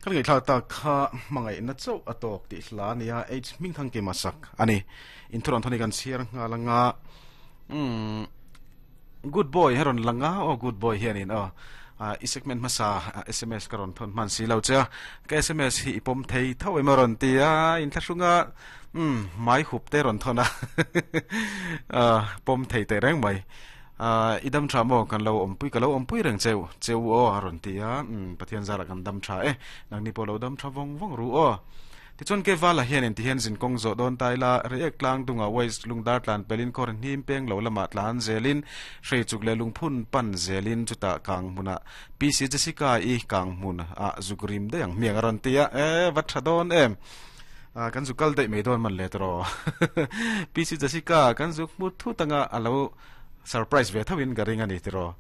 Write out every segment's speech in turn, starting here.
Kan ngaihthlak tak kha hmangaihna chauh a tawk tih hla a nia, H Hmingthangkima sak a ni. Inthuran thawni kan chhiar nghal anga umm Good boy he rawn lang a, aw good boy hianin aw i segment hmasa sms ka rawn thawn hman si lo che a, ka sms hi i pawm thei tho em a rawn ti a, inthlahrung a umm hmai hup te rawn thawn a pawm thei teh reng mai. Ahh i dam tha maw? Kan lo awmpui ka lo awmpui reng cheu cheu aw a rawn ti a, umm Pathian zarah kan dam tha e, nangni pawh lo dam tha vawng vawng ru aw. Tichuan Kevala hian inti hian zin kawng zawh dawn ta ila, Reiek tlang dungah Waste lungdar tlan pelin khawr hnim peng lo lamah tlan zelin, Hreichuk leh lungphun pan zelin chutah kang hmunah PC Jessica i kang hmun ah zuk rim daih ang hmiang a rawn ti a, e va tha dawn em. Ah kan zuk kal daih mai dawn man le tawh PC Jessica kan zuk hmu thut anga a lo Surprise ve tho in ka ring a ni tiraw.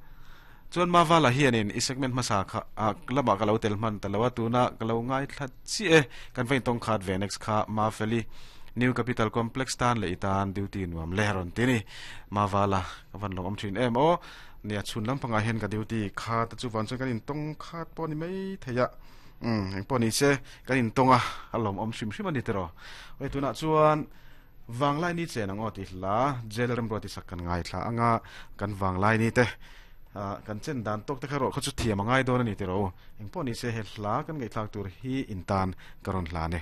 Chuan Mavala hianin i segment hmasa kha ah lamah ka lo tel hman ta lo a, tuna ka lo ngaithla chiah e. Kan va intawng khat ve next kha Mafeli New Capital Complex tan leh i tan duty nuam le a rawn ti ni. Mavala ka van lawm awm thin em aw. Nia chhun lampangah hian ka duty kha te chu van chuan kan intawng khat pawh a ni mai thei a. Umm engpawh ni se kan intawng a, a lawm awm hrim hrim a ni tiraw. Awle tunah chuan. Vanglai ni chen ang aw tih hla Jail remruat i sak kan ngaithla anga kan vanglai ni te kan chen dan tawk te kha erawh kha chu thiam a ngai dawn a ni tiraw u. Engpawh ni se he hla kan ngaihthlak tur hi in tan ka rawn hlan e.